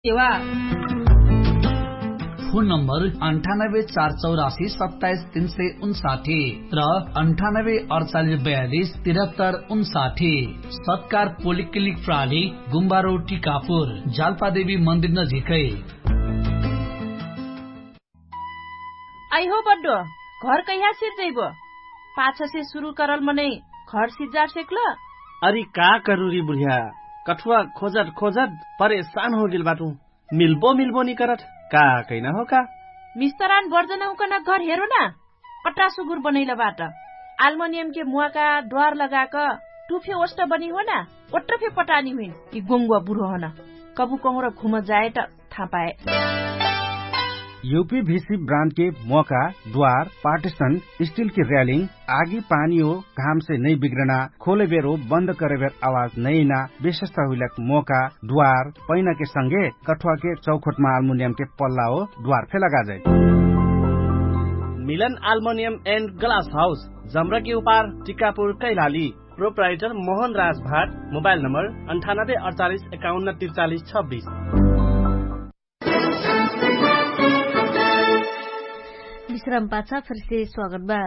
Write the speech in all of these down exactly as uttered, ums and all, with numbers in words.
सेवा। Phone number अन्ठानब्बे चार चौरासी सत्ताइस तीन सय उन्साठी र अन्ठानब्बे अडचालिस बयालिस तिरहत्तर उन्साठी। सत्कार पोलिक्लिनिक प्राली गुम्बारो टिकापुर जाल्पादेवी मन्दिर नजिकै। आइहो बड्डो, घर कैहा सिर्जैबो? पाछसे सुरु करल मनै घर सिर्जार सेक्ल? अरि का करुरी बुढिया, कठुवा खोजट खोजट परेशान होगेल बाटु। मिल्बो मिल्बो निकरट का कैना हो का? मिस्तरान बर्जन हुकन घर हेरो ना। पट्टा सुगुर बनैल बाट। आल्मोनियमके मुवाका द्वार लगाक टुफे ओष्ट बनी हो ना। ओट्ट फे पटानी हुइन कि गोङ्गुवा बुढो होन। कबु कहुँर घुम जाए त थाहा पाए। युपी भिसी ब्रान्डके मोका द्वार पार्टिसन स्टिलके र्यालिङ आगी पानी हो घामसे नै बिग्रना खोलेबेर हो बन्द करेबेर आवाज नैना विशेषता हुइलक मोका द्वार पैनाके संगे कठुवाके चौखोटमा आल्मुनियमके पल्ला हो द्वार फे लगाजै। मिलन आल्मुनियम एन्ड ग्लास हाउस जम्रकी उपार टिकापुर कैलाली। प्रोप्राइटर मोहन राज भाट। मोबाइल नम्बर अन्ठानब्बे अडचालिस एकाउन्न त्रिचालिस छब्बिस। विश्राम पाछा फेरसे स्वागत बा।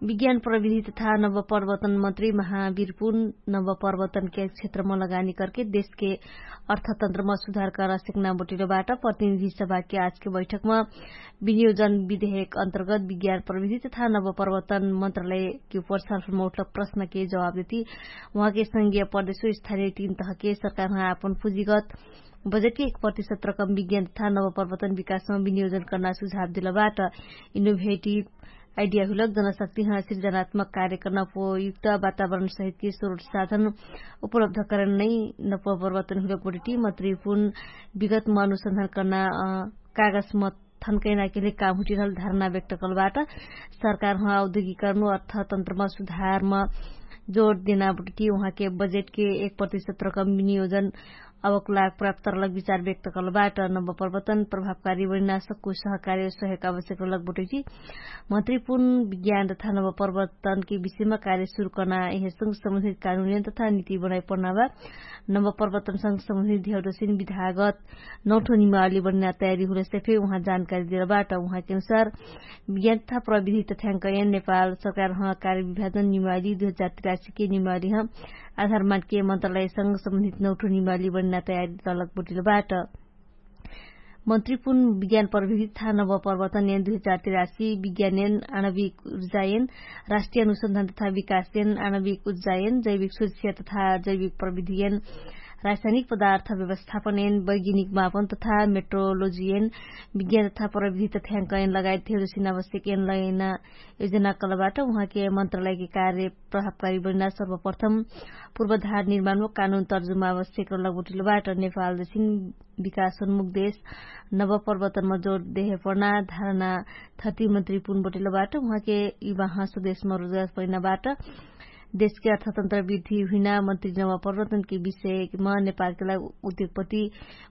विज्ञान प्रविधि तथा नवपरिवर्तन मन्त्री महावीरपुन नवपरिवर्तनके क्षेत्रमा लगानी करके देशके अर्थतन्त्रमा सुधार करा सेक्ना बटिलो बाट। प्रतिनिधि सभाके आजके बैठकमा विनियोजन विधेयक अन्तर्गत विज्ञान प्रविधि तथा नवपरिवर्तन मन्त्रालयके उपर सरफलमा उठल प्रश्नके जवाब देती उहाँके संघीय प्रदेशो स्थानीय तीन तहके सरकारमा आपन पुँजीगत बजेटके एक प्रतिशत रकम विज्ञान तथा नवपरिवर्तन विकासमा विनियोजन कर्ना सुझाव दिलबाट। इनोभेटिभ आइडिया हुइलक जनशक्तिहाँ सिर्जनात्मक कार्य कर्ना उपयुक्त वातावरण सहितके स्रोत साधन उपलब्ध करन नै नवपरिवर्तन हुइलक बटिटी मन्त्री पुन विगतमा अनुसन्धान कर्ना कागजमा थन्कैनाके लिए काम हुटिरहल धारणा व्यक्त कलबाट। सरकारहाँ औद्योगिकरण अर्थतन्त्रमा सुधारमा जोड देना बटिटी उहाँके बजेटके एक प्रतिशत रकम विनियोजन अवक लाग प्राप्त रहलक विचार व्यक्त कलबाट। नवपरिवर्तन प्रभावकारी बनिना सक्कु सहकार्य सहयोग आवश्यक रहलक बटैटी मन्त्री पुन विज्ञान तथा नवपरिवर्तनके विषयमा कार्य सुरु कर्ना यहे संग सम्बन्धित कानुनियन तथा नीति बनाइ पर्ना बा। नवपरिवर्तनसँग सम्बन्धित धेउदसिन विधागत नौठो निमावली बनिना तयारी हुलेसे फे उहाँ जानकारी देलबाट। उहाँके अनुसार विज्ञान तथा प्रविधि तथ्याङ्कयन नेपाल सरकारहाँ कार्य विभाजन निमावली दुई हजार तिरासीके निमावलीहाँ आधार मानके मन्त्रालयसँग सम्बन्धित नौठो निमावली बनिना तयारी तलक बटिलबाट। मन्त्री पुन विज्ञान प्रविधि तथा नवपरिवर्तन एन दुई हजार तिरासी विज्ञान एन आणविक उर्जायन राष्ट्रिय अनुसन्धान तथा विकासयन आणविक उर्जायन जैविक सुरक्षा तथा जैविक प्रविधियन रासायनिक पदार्थ व्यवस्थापनयन वैज्ञानिक मापन तथा मेट्रोलोजियन विज्ञान तथा प्रविधि तथ्याङ्कयन लगायत धेरसिन आवश्यकयन लयन योजना कलबाट उहाँके मन्त्रालयके कार्य प्रभावकारी बनिना सर्वप्रथम पूर्वधार निर्माणमा कानुन तर्जुमा आवश्यक रहलक बटिलबाट। नेपाल जसिन विकासोन्मुख देश नवपरिवर्तनमा जोड देहे पर्ना धारणा थति मन्त्री पुन बटिलबाट उहाँके युवाहाँ स्वदेशमा रोजगार पैनाबाट देशके अर्थतन्त्र वृद्धि हुइना मन्त्री नवपरिवर्तनके विषयमा नेपालके लागि उद्योगपति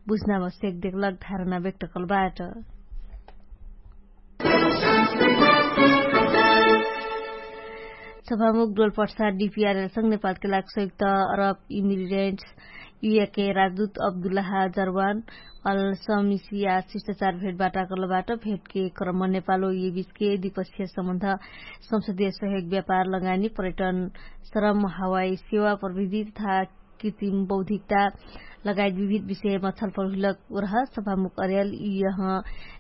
बुझ्ना आवश्यक देखलक धारणा व्यक्त कलबाट। सभामुख डोलपर्सा डिपिआरएलसँग नेपालके लागि संयुक्त अरब इमिरेन्ट्स युएके राजदूत अब्दुल्लाहा जरवान अल समिसिया शिष्टाचार भेटबाट कलबाट भेटके क्रम नेपालो युबिचके द्विपक्षीय सम्बन्ध संसदीय सहयोग व्यापार लगानी पर्यटन श्रम हवाई सेवा प्रविधि तथा कृत्रिम बौद्धिकता लगायत विविध विषयमा छलफल हुइलक रह। सभामुख अर्याल यह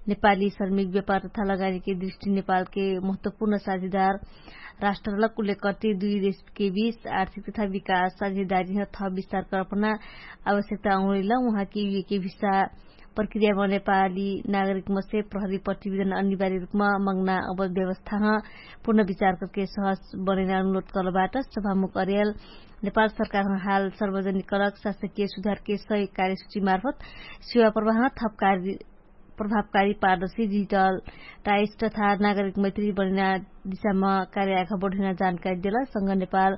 नेपाली श्रमिक व्यापार तथा लगानीके दृष्टि नेपालके महत्वपूर्ण साझेदार राष्ट्रलक उल्लेख कर्ति दुई देशके बीच आर्थिक तथा विकास साझेदारीह थप विस्तार कर्पना आवश्यकता अङ्गुलिल उहाँके युएके भिसा प्रक्रियामा नेपाली नागरिकमसे प्रहरी प्रतिवेदन अनिवार्य रूपमा मङ्ना अवध व्यवस्थाह पुनर्विचार करके सहज बनैना अनुरोध कलबाट। सभामुख अर्याल नेपाल सरकारह हाल सार्वजनिक करक शासकीय सुधारके सही कार्यसूची मार्फत सेवा प्रवाहन थप कार्य प्रभावकारी पारदर्शी डिजिटल टाइस तथा नागरिक मैत्री बनैना दिशामा कार्य आघा बढैना जानकारी देलक संग नेपाल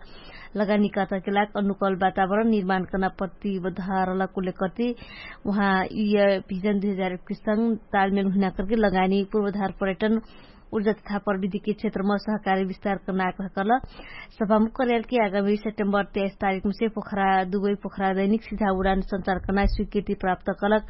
लगानीकर्ताके लाग अनुकूल वातावरण निर्माण कर्ना प्रतिबद्ध रहलक उल्लेख कर्ति उहाँ यु भिजन दुई हजार एक्किस संग तालमेल हुइना करके लगानी पूर्वधार पर्यटन उर्जा तथा प्रविधिकी क्षेत्रमा सहकारी विस्तार कर्नाक रहकल। सभामुख कर्यालकी आगामी सेप्टेम्बर तेइस तारिकमा से पोखरा दुवै पोखरा दैनिक सिधा उडान सञ्चार कर्नाक स्वीकृति प्राप्त कलक।